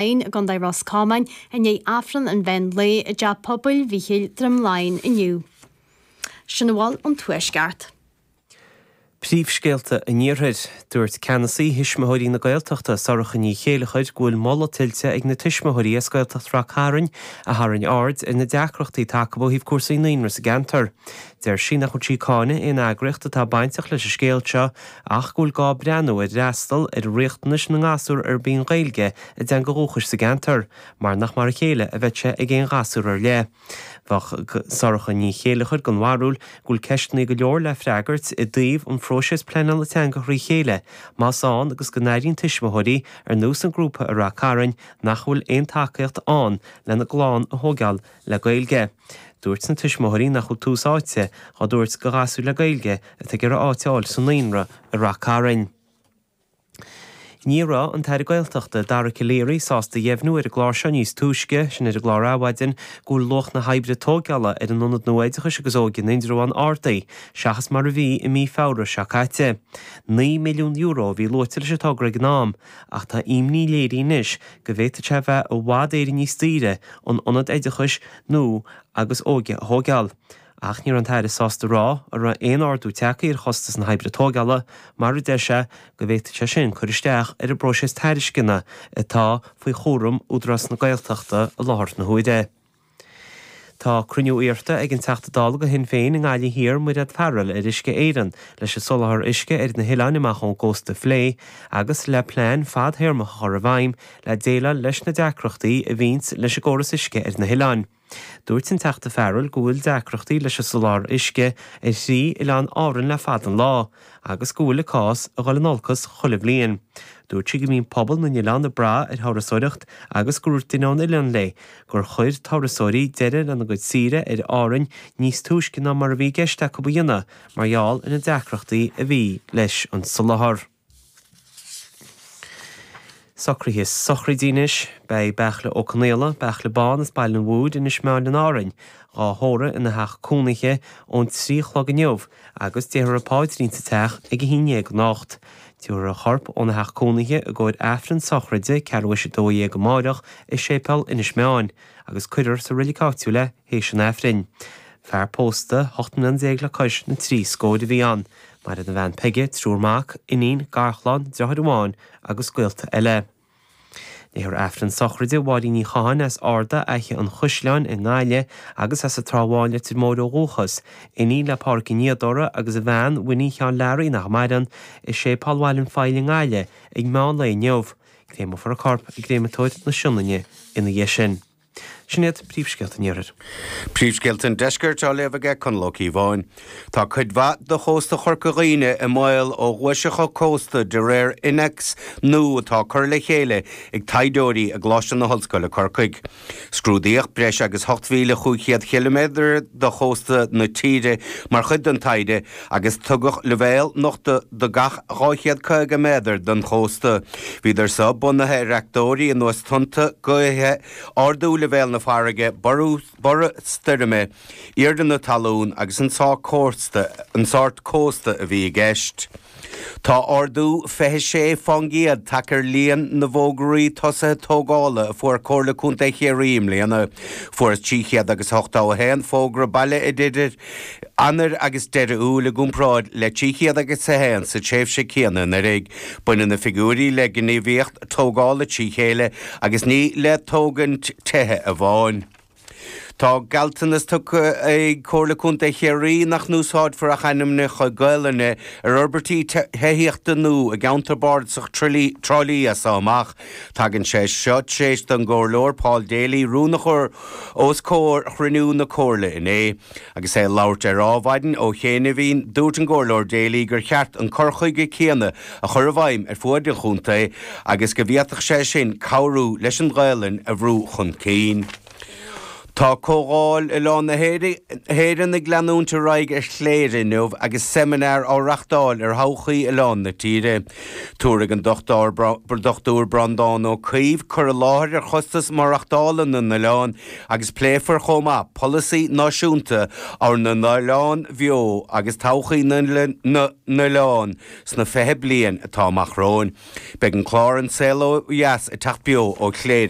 Laighean i gContae Ros Comáin i ndiaidh Aifreann an mheán lae i dTeach Pobail Mhíchíl, Droim Laighean inniu. Sin a bhfuil ón Tuaisceart. Príomhscéalta an Iarthair. Dúirt ceannasaí Thuismitheoirí na Gaeltachta, Sorcha Ní Chéilleachair, go bhfuil moladh tuillte ag na tuismitheoirí as Gaeltacht Rath Cairn a tharraing aird ar na deacrachtaí atá acu ó thaobh cúrsaí naíonra sa gceantar. Deir sí nach bhfuil sí ag cáineadh aon eagraíocht atá bainteach leis an scéal seo ach go bhfuil gá breathnú ar fhreastal ar riachtanais na ngasúr arb í an Ghaeilge a dteanga dhúchais sa gceantar, mar nach mar a chéile a bheidh sé ag aon ghasúr ar leith. Bheadh Sorcha Ní Chéilleachair den bharúil go bhfuil ceisteanna go leor le freagairt i dtaobh an phróiseas pleanála teanga thrí chéile, más ann agus go n-airíonn tuismitheoirí, ar nós an grúpa i Rath Cairn, nach bhfuil aon tacaíocht ann lena gclann a thógáil le Gaeilge. Dúirt na tuismitheoirí nach bhfuil tús áite á dtabhairt do ghasúir le Gaeilge atá ag iarraidh áit a fháil sa naíonra i Rath Cairn. Ní raibh an tAire Gaeltachta, Dara Calleary, sásta a dheimhniú ar an gclár seo níos túisce, sin ar an gclár Adhmhaidin, go bhfuil luach na hoibre tógála ar an Ionad nua Oideachais agus Óige in Indreabhán ardaithe seachas mar a bhí i mí Feabhra seo caite. €9 milliún a bhí luaite leis an togra ag an am ach tá imní léirithe anois go bhféadfadh sé a bheith i bhfad Éireann níos daoire an ionad oideachais nua agus óige a thóigeáil. Ach ní raibh an tAire sásta a rá an raibh aon ardú tagtha ar chostas na hoibre tóigeála mar a deir sé go bhféadfadh sé sin cur isteach ar an bpróiseas tairisceana atá faoi chúram Údarás na Gaeltachta i láthair na huaire. Tá cruinniú iarrta ag an Teachta Dála do Shinn Féin i nGaillimh Thiar, Mairéad Farrell, ar Uisce Éireann leis an soláthar uisce ar na hoileáin amach ón gcósta a phlé agus le plean fadthéarmach a chur i bhfeidhm le déileáil leis na deacrachtaí a bhíonns leis an gcóras uisce ar na hoileáin. Dúirt an Teachta Farrell go bhfuil deacrachtaí leis an soláthar uisce ar thrí oileán Árann le fada an lá agus go bhfuil an cás ag dul in olcas chuile bhliain. Dúirt sí go mbíonn pobal na n-oileán ag brath ar thurasóireacht agus gur dhúirt duine ón oileán léi gur chuir turasóirí deireadh lena gcuid saoire ar Árainn níos túisce ná mar a bhí i gceist acu a dhéanamh mar gheall ar na deacrachtaí a bhí leis an soláthar. Socruithe sochraide anois. Beidh Beartla Ó Conaola, Beartla Bán as Baile an Mhúir, Inis Meáin in Árainn, dhá thórramh ina theach cónaithe ón 3 a chlog inniu agus déarfar an paidrín sa teach ag a haon dhéag anocht. Tabharfar a chorp óna theach cónaithe i gcomhair Aifreann sochraide ceathrú théis a 12 amáireach i Séipéal Inis Meáin agus cuirfear sa reilig áitiúil é théis an Aifrinn. Fear pósta, 18 mbliana le cois na dtrí scóir a bhí ann. Maireann a bhean Peige, triúr mac, iníon, garchlann, deartháir amháin agus gaolta eile. Léifear Aifreann sochraide Mháirín Ní Chatháin as Ardagh, Fhaiche an Chaisleáin i nGaillimh agus as an Trá Bháin, Leitir Móir ó dhúchas, iníon le Pádhraic Ó Niadóra agus a bhean Winnie Sheáin Learaí nach maireann, i Séipéal Bhaile an Phoill i nGaillimh ag meán lae inniu. Créamófar a corp i gCréamatóir na Sionainne ina dhiaidh sin. Sin iad príomhscéalta an Iarthair. Príomhscéalta an Deiscirt á léamh aige Conall Ó Cíobháin. Tá cuid mhaith de chósta Chorca Dhuibhne i mbaol ó ghuaiseacha cósta de réir innéacs nua atá curtha le chéile ag taighdeoirí i gColáiste na hOllscoile Corcaigh. Scrúdaíodh breis agus 8,500 chiliméadar de chósta na tíre mar chuid den taighde agus tugadh leibhéal nochta do gach 250 méadar den chósta. Bhíodar seo bunaithe ar fhactóirí ar nós tonnta, gaotha, ardú leibhéal na farraige, borradh stoirme, airde na talún agus an sórt cósta a bhí i gceist. Tá ardú 26 fán gcéad tagtha ar líon na bhfógraí tosaithe tógála a fuair Comhairle Contae Chiarraí i mbliana. Fuarthas 381 fógra baile idir Eanáir agus deireadh Iúil i gcomparáid le 301 sa tréimhse céanna anuraidh. Baineann na figiúirí le gníomhaíocht tógála trí chéile agus ní le tógaint tithe amháin. Tá gealltanas tugtha ag Comhairle Contae Chiarraí nach n-úsáidfear ach ainmneacha Gaelainne ar fhorbairtí tithíochta nua i gceantar bardasach Trá Lí as seo amach. Tagann sé seo tar éis don gComhairleoir Paul Daly rún a chur os comhair chruinniú na Comhairle inné. Agus é ag labhairt ar Adhmhaidin ó chianaibhín, dúirt an gComhairleoir Daly gur cheart an cur chuige céanna a chur i bhfeidhm ar fuaid an chontae agus go bhféadfadh sé sin cabhrú leis an Ghaelainn a bhrú chun cinn. Tá Comhdháil Oileáin na hÉireann ag leanúint ar aghaidh ar Chléire inniu agus seimineár á reachtáil ar thodhchaí oileáin na tíre. Tabharfaidh an Dr Breandán Ó Caoimh cur i láthair ar chostas maireachtála na n-oileán agus pléifear chomh maith polasaí náisiúnta ár n-oileán bheo agus todhchaí na n-oileán sna 20 bliain atá amach romhainn. Beidh an clár An Saol Ó Dheas ag teacht beo ó Chléire.